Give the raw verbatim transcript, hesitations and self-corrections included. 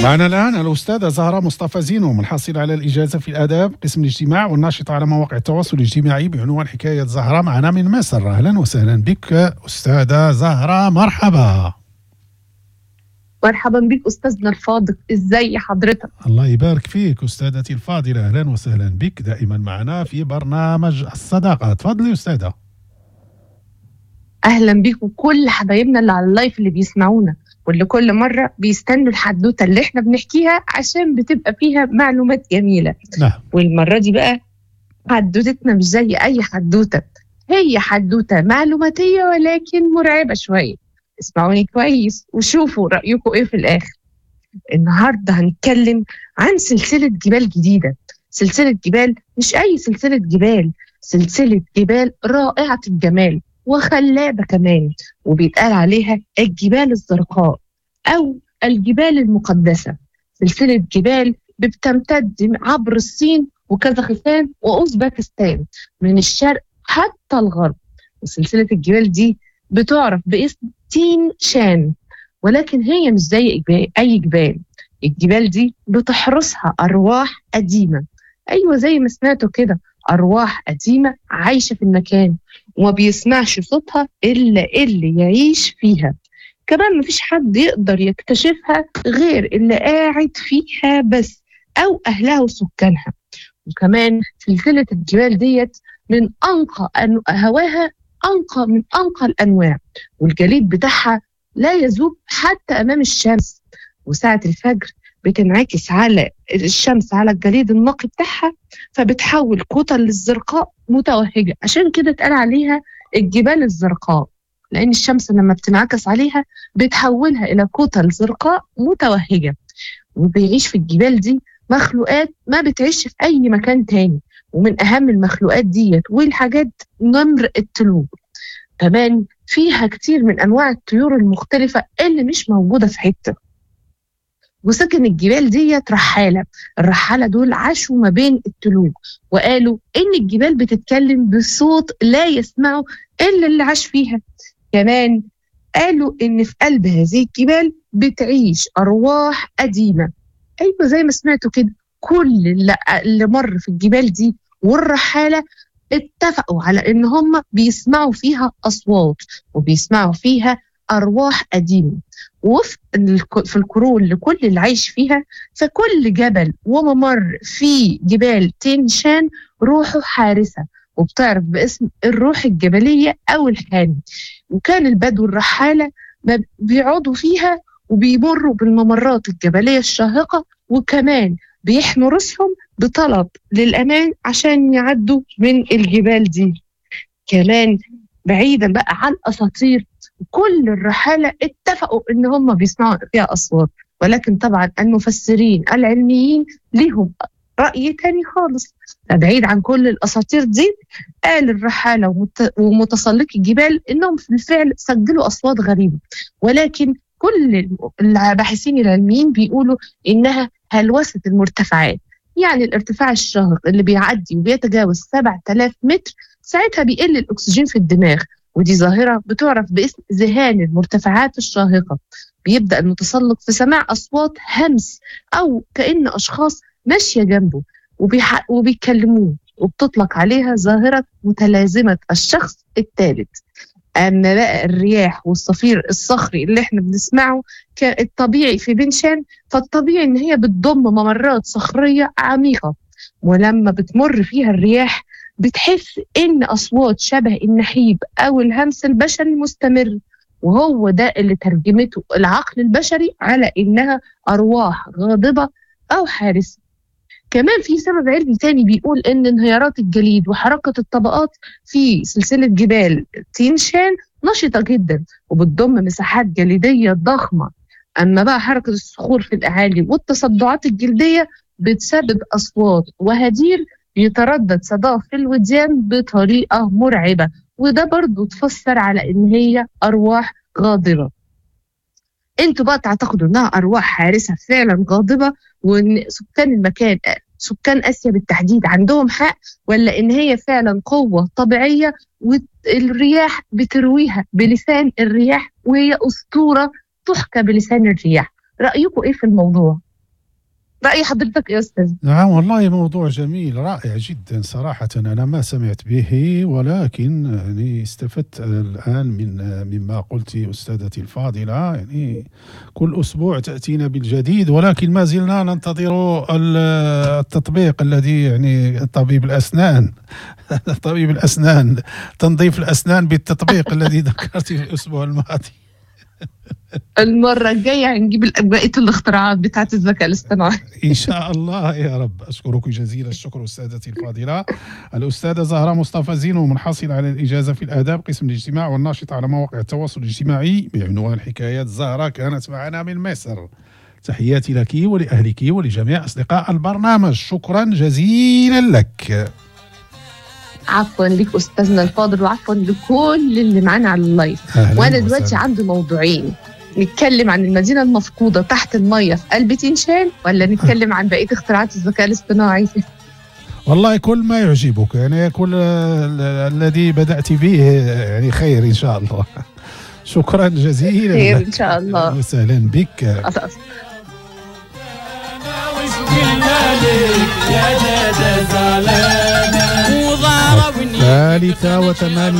معنا الآن الأستاذة زهرة مصطفى زينو، الحاصلة على الإجازة في الآداب قسم الاجتماع والناشطة على مواقع التواصل الاجتماعي بعنوان حكاية زهرة، معنا من مصر. أهلا وسهلا بك أستاذة زهرة، مرحبا. مرحبا بك أستاذنا الفاضل، إزاي حضرتك؟ الله يبارك فيك أستاذتي الفاضلة، أهلا وسهلا بك دائما معنا في برنامج الصداقة. تفضلي أستاذة. أهلا بك وكل حبايبنا اللي على اللايف اللي بيسمعونا واللي كل مرة بيستنوا الحدوتة اللي احنا بنحكيها عشان بتبقى فيها معلومات جميلة. نعم. والمرة دي بقى حدوتتنا مش زي أي حدوتة، هي حدوتة معلوماتية ولكن مرعبة شوية. اسمعوني كويس وشوفوا رأيكم ايه في الآخر. النهاردة هنتكلم عن سلسلة جبال جديدة، سلسلة جبال مش أي سلسلة جبال، سلسلة جبال رائعة الجمال وخلابة كمان، وبيتقال عليها الجبال الزرقاء أو الجبال المقدسة. سلسلة جبال بتمتد عبر الصين وكازاخستان وأوزبكستان من الشرق حتى الغرب. وسلسلة الجبال دي بتعرف باسم تين شان، ولكن هي مش زي أي جبال. الجبال دي بتحرسها أرواح قديمة، أيوة زي ما سمعتوا كده، أرواح قديمة عايشة في المكان وما بيسمعش صوتها إلا اللي يعيش فيها. كمان مفيش حد يقدر يكتشفها غير اللي قاعد فيها بس أو أهلها وسكانها. وكمان سلسلة الجبال ديت من أنقى هواها، أنقى من أنقى الأنواع، والجليد بتاعها لا يذوب حتى أمام الشمس. وساعة الفجر بتنعكس على الشمس على الجليد النقي بتاعها، فبتحول كتل الزرقاء متوهجة. عشان كده اتقال عليها الجبال الزرقاء، لأن الشمس لما بتنعكس عليها بتحولها إلى كتل زرقاء متوهجة. وبيعيش في الجبال دي مخلوقات ما بتعيش في أي مكان تاني، ومن أهم المخلوقات ديت والحاجات نمر التلوج. كمان فيها كتير من أنواع الطيور المختلفة اللي مش موجودة في حتة. وسكن الجبال ديت رحالة، الرحالة دول عاشوا ما بين التلوج، وقالوا إن الجبال بتتكلم بصوت لا يسمعه إلا اللي عاش فيها. كمان قالوا إن في قلب هذه الجبال بتعيش أرواح قديمة، أيوة زي ما سمعتوا كده، كل اللي مر في الجبال دي والرحالة اتفقوا على إن هم بيسمعوا فيها أصوات وبيسمعوا فيها أرواح قديمة. وفي في القرون لكل اللي عايش فيها، فكل جبل وممر في جبال تين شان روحه حارسة، وبتعرف باسم الروح الجبلية أو الحامي. وكان البدو الرحالة بيقعدوا فيها وبيمروا بالممرات الجبلية الشاهقة، وكمان بيحموا رأسهم بطلب للأمان عشان يعدوا من الجبال دي. كمان بعيدا بقى عن أساطير، كل الرحالة اتفقوا إن هم بيسمعوا فيها أصوات، ولكن طبعا المفسرين العلميين لهم رأي تاني خالص. بعيد عن كل الأساطير دي، قال الرحالة ومتسلقي الجبال إنهم في الفعل سجلوا أصوات غريبة، ولكن كل الباحثين العلميين بيقولوا إنها هلوسة المرتفعات، يعني الارتفاع الشاهق اللي بيعدي وبيتجاوز سبعة آلاف متر ساعتها بيقل الأكسجين في الدماغ، ودي ظاهرة بتعرف باسم ذهان المرتفعات الشاهقة. بيبدأ المتسلق في سماع أصوات همس أو كأن أشخاص ماشية جنبه وبيح... وبيكلموه، وبتطلق عليها ظاهرة متلازمة الشخص الثالث. أما بقى الرياح والصفير الصخري اللي احنا بنسمعه الطبيعي في بنشان، فالطبيعي إن هي بتضم ممرات صخرية عميقة، ولما بتمر فيها الرياح بتحس إن أصوات شبه النحيب أو الهمس البشري المستمر، وهو ده اللي ترجمته العقل البشري على إنها أرواح غاضبة أو حارسة. كمان في سبب علمي تاني بيقول إن انهيارات الجليد وحركة الطبقات في سلسلة جبال تين شان نشطة جدا وبتضم مساحات جليدية ضخمة. أما بقى حركة الصخور في الأعالي والتصدعات الجلدية بتسبب أصوات وهدير يتردد صداه في الوديان بطريقة مرعبة، وده برضو تفسر على إن هي أرواح غاضبة. انتوا بقى تعتقدوا انها ارواح حارسه فعلا غاضبه، وان سكان المكان سكان اسيا بالتحديد عندهم حق، ولا ان هي فعلا قوه طبيعيه والرياح بترويها بلسان الرياح وهي اسطوره تحكى بلسان الرياح؟ رايكم ايه في الموضوع؟ رأي حضرتك يا أستاذ؟ نعم والله موضوع جميل رائع جدا صراحة، أنا ما سمعت به، ولكن يعني استفدت الآن من مما قلت أستاذتي الفاضلة. يعني كل أسبوع تأتينا بالجديد، ولكن ما زلنا ننتظر التطبيق الذي يعني طبيب الأسنان طبيب الأسنان تنظيف الأسنان بالتطبيق الذي ذكرت في الأسبوع الماضي. المرة الجاية هنجيب بقية الاختراعات بتاعة الذكاء الاصطناعي إن شاء الله يا رب. أشكرك جزيل الشكر أستاذتي الفاضلة الأستاذة زهرة مصطفى زينو، منحصلة على الإجازة في الآداب قسم الاجتماع والناشطة على مواقع التواصل الاجتماعي بعنوان حكايات زهرة، كانت معنا من مصر. تحياتي لك ولأهلك ولجميع أصدقاء البرنامج، شكرا جزيلا لك. عفوا لك أستاذنا الفاضل، وعفوا لكل اللي معانا على ال live. وأنا دلوقتي عندي موضوعين، نتكلم عن المدينة المفقودة تحت المية في قلب تنشان، ولا نتكلم عن بقية اختراعات الذكاء الاصطناعي؟ والله كل ما يعجبك، يعني كل الذي بدأت به يعني خير إن شاء الله. شكرا جزيلا، خير إن شاء الله، وسهلا بك. ثالثة وثمانية